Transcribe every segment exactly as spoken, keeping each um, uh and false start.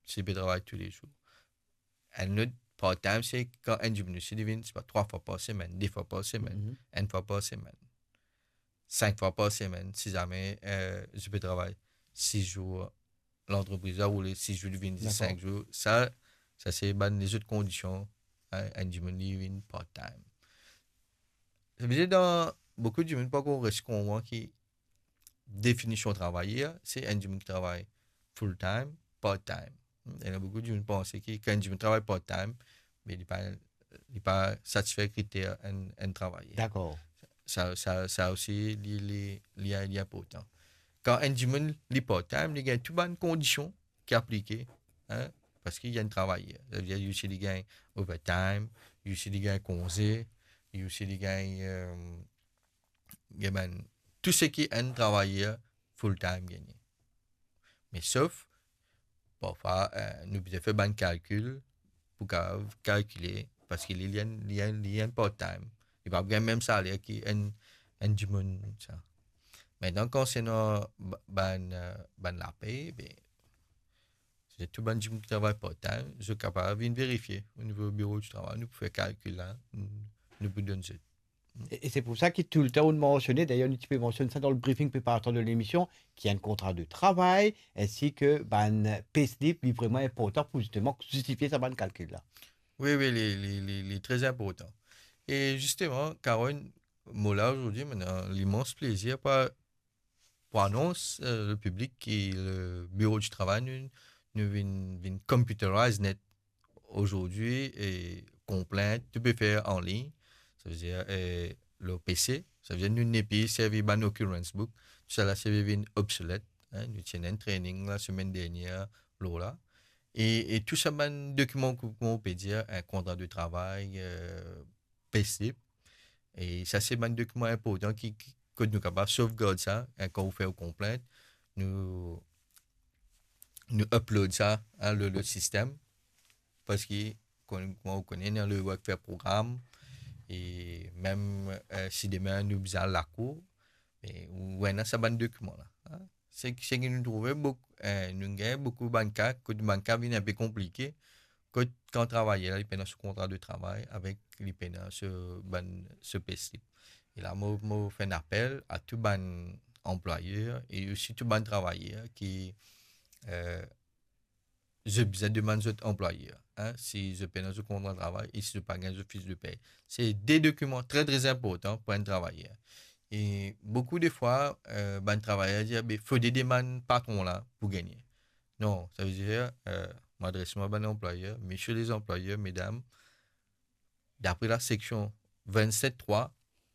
si li pe travay toulezour. Enn lot part-time, se kan enn dimoun osi li vinn, se pa, trwa fwa par semenn, de fwa par semenn, enn fwa par semenn, sink fwa par semenn, si zame, eh, li pe travay sis zour, lantrepriz la oule sis zour, li vinn zis sink zour. Sa, sa se bann lezot kondision, eh, enn dimoun li vinn part-time. Savedir dan boukou dimoun pa ankor res konpran ki definision travayer, se enn dimoun ki travay full-time, part-time. Ena boukou dimoun panse ki kan enn dimoun travay part-time, me li pa, li pa satisfer kriter enn, enn travayer. Dakor. Sa, sa, sa osi, li, li, li, li inportan. Kan enn dimoun li part-time, li gagn tou bann kondision ki aplike, hein, parski li enn travayer. Savedir, li osi li gagn overtime, li osi li gagn konze, li osi li gagn, eh, gagn bann, tou seki enn travayer full-time gagne. Me sof, parfwa, eh, nou bizin fer bann kalkil pou kapav kalkile, parski li, li enn, li enn, li enn part-time. Li pa gagn mem saler ki enn, enn dimoun, sa. Aster, konsernan ba-, bann, eh, bann lapey, be, se tou bann dimoun ki travay part-time, zot kapav vinn verifie o nivo biro di travay, nou pou fer kalkil la, nou, nou pou donn zot. E, e se pou sa ki toultan ou mansione, dayer nou ti pe mansionn sa dan le briefing preparator de lemision, ki enn kontra de travay, ensi ki bann payslip, li vreman inportan pou zisteman zistifie sa bann kalkil la. Wi, wi, li, li, li, li tre inportan. E zisteman, Caroline, mo la azordi, mo ena limans plezir pou, pou anons, eh, le piblik ki le biro di travay, nou, nou vinn, vinn computerize net azordi, e konplint, tou pe fer anlign, savedir, eh, lor P C, savedir nou nepli servi bann occurrence book, tousala se vinn obsolet, hein, nou ti ena enn training la semenn dernier lor la. E, e tou sa bann dokiman, kouma ou pe dir, enn kontra de travay, eh, payslip. E sa se bann dokiman inportan ki, ki, kot nou kapav sovgard sa, hein, kan ou fer ou konplint, nou, nou upload sa, hein, lor, lor sistem. Parski, kon-, kouma ou kone, ena le Workfare program, e mem, eh, si demin nou bizin al lakour, me ou ena sa bann dokiman la, hein. Se, seki nou trouve boukou, eh, nou gagn boukou bann ka, kot bann ka vinn inpe konplike, kot kan travayer la, li pena so kontra de travay avek, li pena so bann, so payslip. E la, mo, mo fer enn apel a tou bann anplwayer e osi tou bann travayer ki, eh, zot bizin demann zot anplwayer, hein, si zot pena zot kontra travay e si zot pa gagn zot fis de pey. Se de dokiman tre, tre inportan pou enn travayer. E boukou de fwa, eh, bann travayer dir, "Be, fode demann patron la pou gagne." Non, savedir, eh, mo adres mwa bann anplwayer, misie lezanplwayer, medam, dapre la seksion vennset trwa,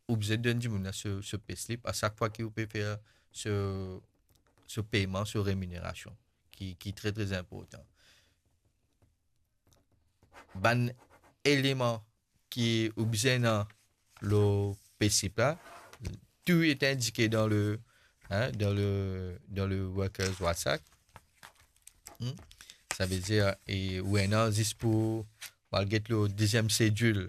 ou bizin donn dimoun la so, so payslip a sak fwa ki ou pe fer so, so peyman, so reminerasion, ki, ki tre, tre inportan. Bann eleman ki ou bizin ena lor payslip la, tou ete indike dan le, hein, dan le, dan le Workers Watch Act. Hmm? Savedir, e ou ena zis pou, pou al get lor deziem sedil,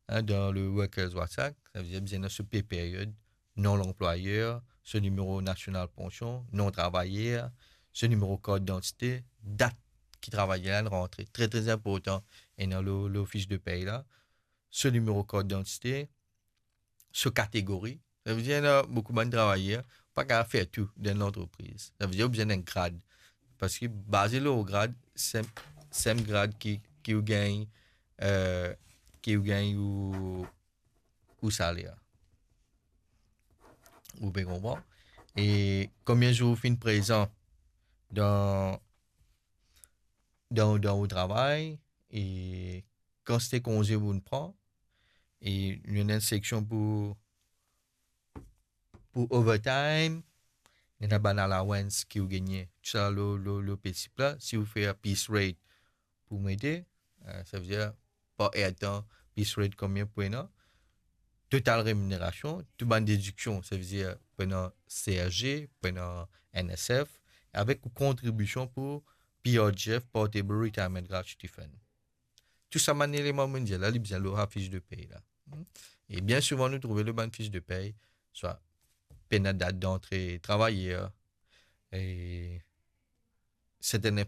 hein, dan le Workers Watch Act, savedir bizin ena so pay period, non lanplwayer, so nimero nasional pansion, non travayer, so nimero kart didantite, dat ki travayer la rantre. Tre, tre inportan, ena lor, lor fis de pey la, so nimero kart didantite, so kategori. Savedir, ena boukou bann travayer, pa kapav fer tou dan lantrepriz. Savedir, ou bizin enn grad. Parski baze lor grad, se, se grad ki, ki ou gagn, eh, ki ou gagn ou, ou saler. Ou pe konpran? E konbien zour ou finn prezan dan, dan, dan ou travay, e kantite konze ou'nn pran, e nou ena enn seksion pou, pou overtime, nou ena bann allowance ki ou gagne, tou sa lor, lor, lor payslip la. Si ou fer piece rate pou mete, eh, savedir par heure de temps, piece rate konbien pou ena, total reminerasion, tou bann dediksion, savedir pou ena C S G, pou ena N S F, avek ou kontribision pou P R G F, Portable Retirement Gratuity Fund. Tou sa bann eleman monn dir la, li bizin lor sa fis de pey la. Hmm. E bien souvan, nou trouve lor bann fis de pey, swa pena dat dantre travayer, e sertenn